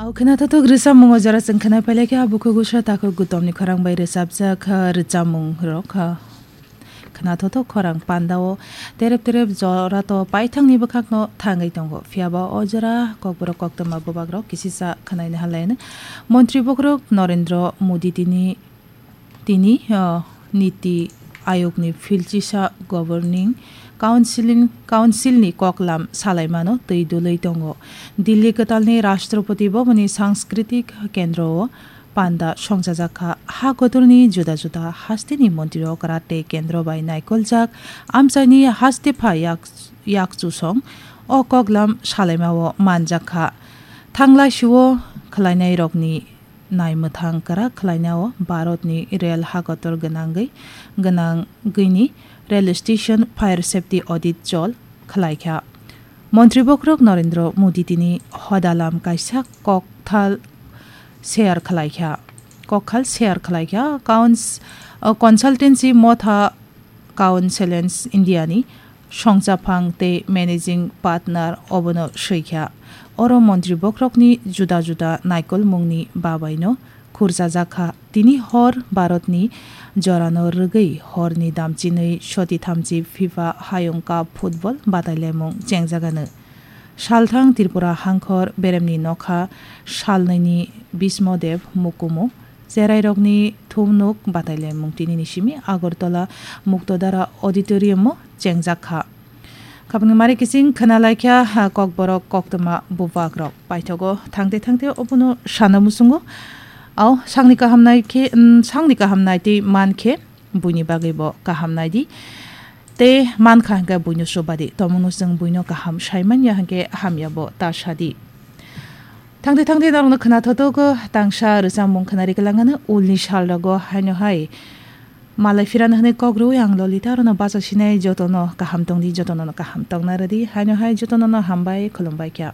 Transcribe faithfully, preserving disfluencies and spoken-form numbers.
Khwnathothok rwchapmung o jora chwng khwnai pailai kha, bukhuk usa takhuk gutomni khorang bai rwchapjak, ah, rwchapmung rok, ah, khwnathothok khorang pandao terep terep jora to paithangni bwkhakno thangwi tongo. Phiyaba o jora kokborok koktwma bubak rok kisisa khwnaina halaino. Montri bokhorok Narendra Modi tini Tini, ah, Niti Ayogni philchisa Governing Councilin-, Councilni koklam salaimano twi dulwi tongo. Delhi kwtalni Rashtrapati Bhavanni Sanskriti Kendro o panda songchajak kha. Ha kotorni juda juda hasteni montri okra tei kendro bai naikoljak amchaini haste pha yak, yakchusong o koklam salaimao manjak kha. Thanglai sio khwlainairokni naimwthang kwrak khwlainao Bharatni rel hakotor gwnangwi, gwnangwini rel station fire safety audit chol khwlaikha. Montri bokhorok Narendra Modi tini hodalam kaisa kokthal share khwlaikha, kokthal share khwlaikha. Couns-, uh, consultancy motha Council India ni songchaphang tei managing partner obono swi kha. Oro montri bokhorokni juda juda naikolmungni babaino khurchajak kha. Tini hor Bharatni jorano rwgwi horni damchinwi soti thamchi FIFA Hayung Cup football batailaimung chengjagano. Salthang Tripura hangkhor beremni nokha salnwini Bismo Dev Mukumu cherairokni thumnuk batailaimung tinini simi Agartala Muktodara Auditorium o chengjak kha. Khapangni mari kiching khwnalaikha, ha, kokborok koktwma bubakrok. Paithogo thangte thangte obono sana muchungo. Ao, sangni kaham nai khe, mm, sangni kaham nai tei man khe buini bagwi bo kaham nai di. Tei man kha hwnkhe buino chuba di. Tomungno chwng buino kaham sai man ya hwnkhe hamya bo ta sa di. Thangte thangte norokno khwnathothogo tangsa rwchapmung khwnari kwlangano ulni salrogo haino hai malai phirano hwnwi kok rwui ang Lolita, aroni bacha sinai jotono kaham tong di, jotono kaham tongna rw di, haino hai jotono hambai khulumbai kha.